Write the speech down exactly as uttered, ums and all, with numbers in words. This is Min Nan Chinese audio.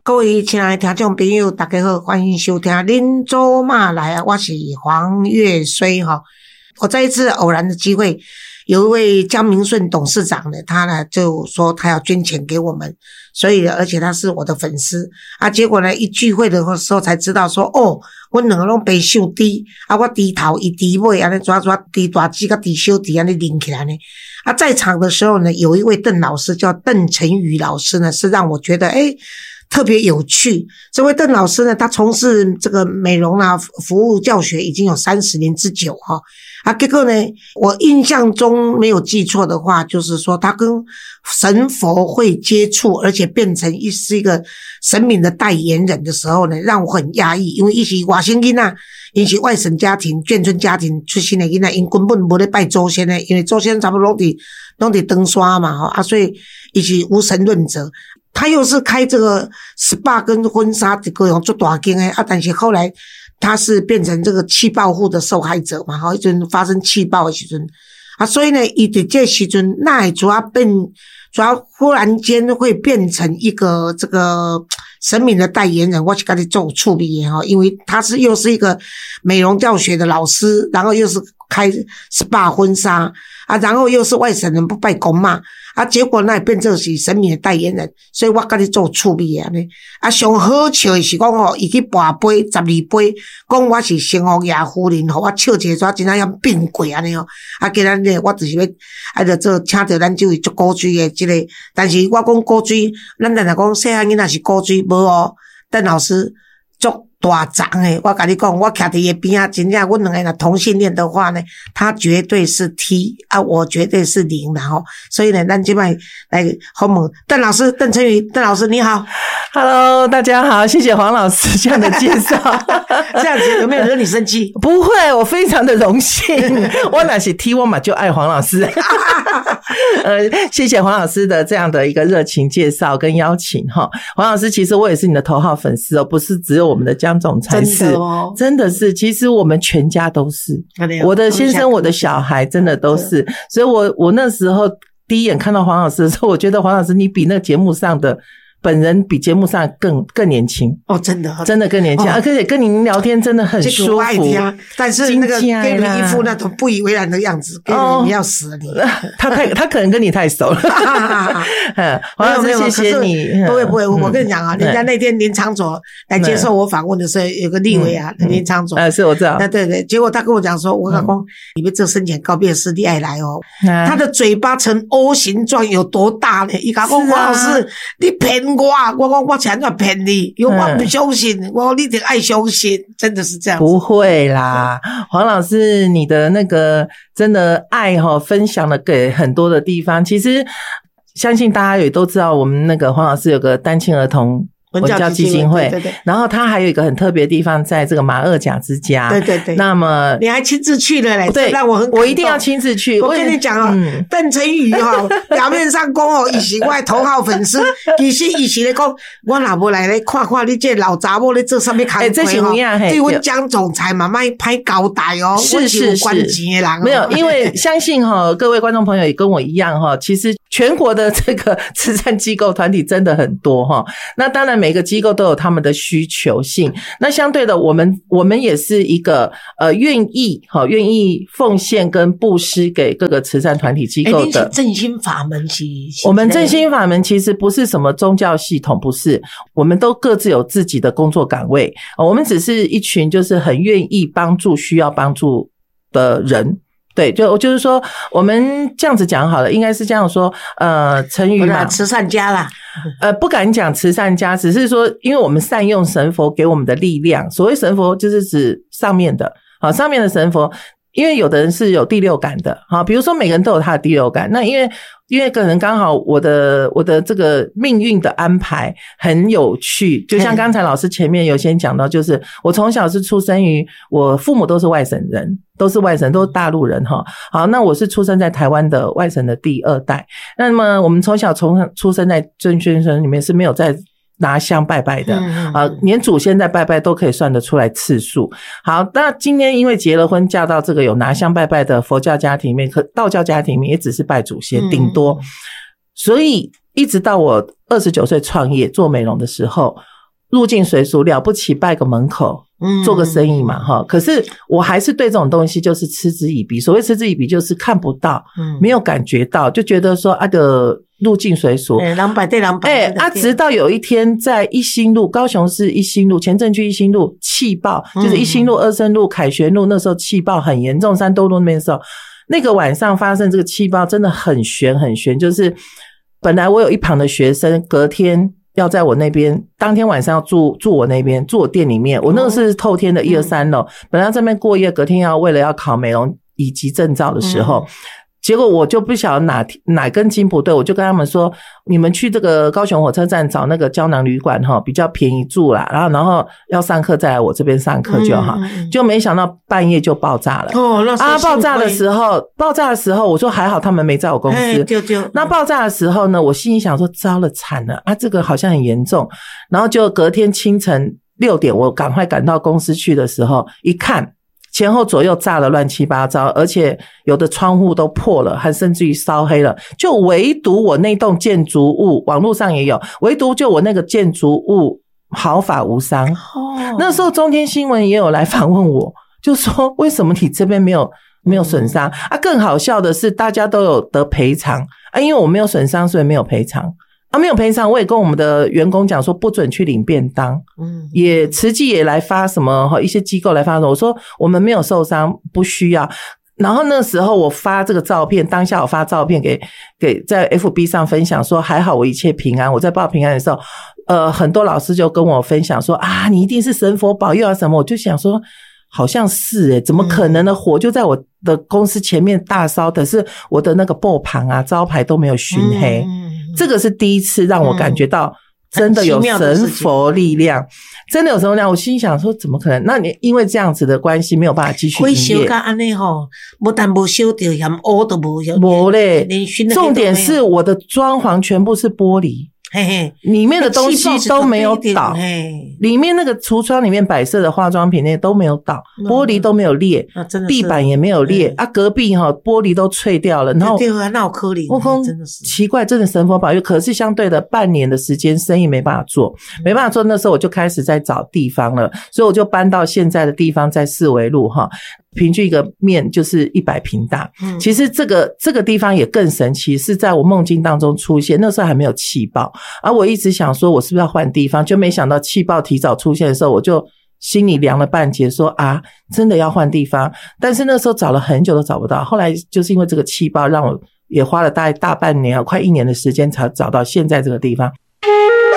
各位親愛的聽眾朋友，大家好，歡迎收聽《恁祖媽來》啊，我是黃越綏哈。我在一次偶然的機會，有一位江明順董事長呢，他呢就說他要捐錢給我們，所以而且他是我的粉絲啊。結果呢，一聚會的時候才知道說，哦，阮兩個攏白姓豬啊，我豬頭，伊豬尾，按呢怎怎豬大姊佮豬小弟按呢連起來呢。啊，在場的時候呢，有一位鄧老師叫鄧成宇老師呢，是讓我覺得誒特別有趣。這位鄧老師呢，他從事這個美容啊服務教學已經有三十年之久哈。啊，結果呢，我印象中沒有記錯的話，就是說他跟神佛會接觸，而且變成一是一個神明的代言人的時候呢，讓我很訝異，因為伊是外省囡仔，伊是外省家庭、眷村家庭出身的囡仔，𪜶根本無咧拜祖先的，因為祖先差不多攏佇攏佇長山嘛吼，啊，所以伊是無神論者。他又是開這個 S P A 跟婚紗這個足大間的啊，但是後來他是變成這個氣爆戶的受害者嘛，吼，彼陣發生氣爆的時陣啊，所以呢，伊佇這時陣哪會怎變，怎忽然間會變成一個這個神明的代言人，我是感覺足有趣味的吼，因為他是又是一個美容教學的老師，然後又是開 S P A 婚紗啊，然後又是外省人不拜公媽啊，結果那變做是神明的代言人，所以我感覺足有趣味的按呢。啊，上好笑的是講吼，伊去跋杯十二杯，講我是城隍爺夫人，予我笑一個，怎真正變過按呢吼。啊，今仔日我就是欲啊，著做請著咱這位足古錐的這個，但是我講古錐，咱常常講細漢囡仔是古錐，無哦，鄧老師足大叢的，我共你講，我徛佇伊邊仔，真正阮兩個若同性戀的話呢，他絕對是 T 啊，我絕對是零啦吼。所以呢，咱這擺來訪問鄧老師，鄧成宇，鄧老師你好。 Hello，大家好，謝謝黃老師這樣的介紹。這樣子有沒有惹你生氣？不會，我非常的榮幸。我若是 T，我嘛就愛黃老師。呃，謝謝黃老師的這樣的一個熱情介紹跟邀請哈。黃老師，其實我也是你的頭號粉絲哦，不是只有我們的江總才是，真的哦，真的是，其實我們全家都是，我的先生、我的小孩真的都是，所以我我那時候第一眼看到黃老師的時候，我覺得黃老師你比那個節目上的本人比節目上更更年輕。哦，真的，真的更年輕，而且跟您聊天真的很舒服。但是那個給你一副那種不以為然的樣子，給你要死了你。他太他可能跟你太熟了。嗯，黃老師，謝謝你。不會不會，我跟你講啊，人家那天林昶佐來接受我訪問的時候，有個立委啊，林昶佐。呃，是我知道。對對對，結果他跟我講說，我老公，你們這生前告別式你愛來哦。他的嘴巴呈 O 形狀有多大呢？伊講黃老師，你騙我，我講我怎樣騙你？因為我不相信，我講你得愛相信，真的是這樣。不會啦，黃老師，你的那個真的愛哈，分享了給很多的地方。其實相信大家也都知道，我們那個黃老師有個單親兒童文教基金會，對對，然後他還有一個很特別的地方，在這個馬二甲之家。對對對。那麼你還親自去了嘞？對，讓我很我一定要親自去。我跟你講啊，鄧成宇哈，表面上講哦，伊是我的頭號粉絲，其實伊是咧講，我若無來咧看看你這老查某咧做啥物工課吼，對阮江總裁嘛莫歹交代哦。是是是，關錢的人。沒有，因為相信哈，各位觀眾朋友也跟我一樣哈，其實全國的這個慈善機構團體真的很多哈。那當然每個機構都有他們的需求性，那相對的，我們我們也是一個呃願意哈願意奉獻跟布施給各個慈善團體機構的。正心法門是，我們正心法門其實不是什麼宗教系統，不是，我們都各自有自己的工作崗位，我們只是一群就是很願意幫助需要幫助的人。對，就就是說，我們這樣子講好了，應該是這樣說，呃，成語嘛，慈善家啦，呃，不敢講慈善家，只是說，因為我們善用神佛給我們的力量。所謂神佛，就是指上面的，好，上面的神佛，因為有的人是有第六感的，好，比如說每個人都有他的第六感，那因為因為可能剛好我的我的這個命運的安排很有趣，就像剛才老師前面有先講到，就是我從小是出生於我父母都是外省人，都是外省，都是大陸人哈。好，那我是出生在台灣的外省的第二代。那麼我們從小從出生在正軒村裡面是沒有在拿香拜拜的啊，連祖先在拜拜都可以算得出來次數。好，那今天因為結了婚，嫁到這個有拿香拜拜的佛教家庭裡面，可道教家庭裡面也只是拜祖先，頂多。所以一直到我二十九歲創業做美容的時候，入境隨俗，了不起拜個門口，做個生意嘛，哈。可是我還是對這種東西就是嗤之以鼻。所謂嗤之以鼻，就是看不到，沒有感覺到，就覺得說啊的入境隨俗。兩百對兩百。哎，啊，直到有一天在一心路，高雄市一心路，前鎮區一心路氣爆，就是一心路、二聖路、凱旋路，那時候氣爆很嚴重，三多路那邊的時候，那個晚上發生這個氣爆真的很懸很懸，就是本來我有一旁的學生，隔天要在我那邊，當天晚上要住住我那邊，住我店裡面。我那個是透天的一二三樓，本來在這邊過夜，隔天要為了要考美容乙級證照的時候，結果我就不曉得哪哪根筋不對，我就跟他們說：你們去這個高雄火車站找那個膠囊旅館哈，比較便宜住啦。然後然後要上課再來我這邊上課就好。就沒想到半夜就爆炸了。哦，那啊，爆炸的時候，爆炸的時候，我說還好他們沒在我公司。就就那爆炸的時候呢，我心裡想說糟了慘了啊，這個好像很嚴重。然後就隔天清晨六點，我趕快趕到公司去的時候，一看，前後左右炸得亂七八糟，而且有的窗戶都破了，還甚至於燒黑了。就唯獨我那棟建築物，網絡上也有，唯獨就我那個建築物毫髮無傷。哦，那時候中天新聞也有來訪問我，就說為什麼你這邊沒有沒有損傷啊？更好笑的是，大家都有得賠償啊，因為我沒有損傷，所以沒有賠償。啊，沒有賠償，我也跟我們的員工講說，不准去領便當。嗯，也慈濟也來發什麼哈，一些機構來發什麼，我說我們沒有受傷，不需要。然後那時候我發這個照片，當下我發照片給給在 F B 上分享，說還好我一切平安。我在報平安的時候，呃，很多老師就跟我分享說啊，你一定是神佛保佑啊什麼。我就想說，好像是欸，怎麼可能呢？火就在我的公司前面大燒，可是我的那個布棚啊、招牌都沒有燻黑。這個是第一次讓我感覺到真的有神佛力量，真的有神佛力量。我心想說，怎麼可能？那你因為這樣子的關係，沒有辦法繼續營業。火燒甲按呢吼，不但無燒著，連烏都無。無咧，重點是我的裝潢全部是玻璃。嘿嘿，裡面的東西都沒有倒，裡面那個櫥窗裡面擺設的化妝品那些都沒有倒，玻璃都沒有裂，地板也沒有裂啊，隔壁哈玻璃都碎掉了，然後對啊，那有可能，我講真的是奇怪，真的神佛保佑，可是相對的半年的時間生意沒辦法做，沒辦法做，那時候我就開始在找地方了，所以我就搬到現在的地方，在四維路哈。平均一個面就是一百平大，其實這個這個地方也更神奇，是在我夢境當中出現，那時候還沒有氣爆，而我一直想說，我是不是要換地方，就沒想到氣爆提早出現的時候，我就心裡涼了半截，說啊，真的要換地方，但是那時候找了很久都找不到，後來就是因為這個氣爆，讓我也花了大概大半年，快一年的時間才找到現在這個地方。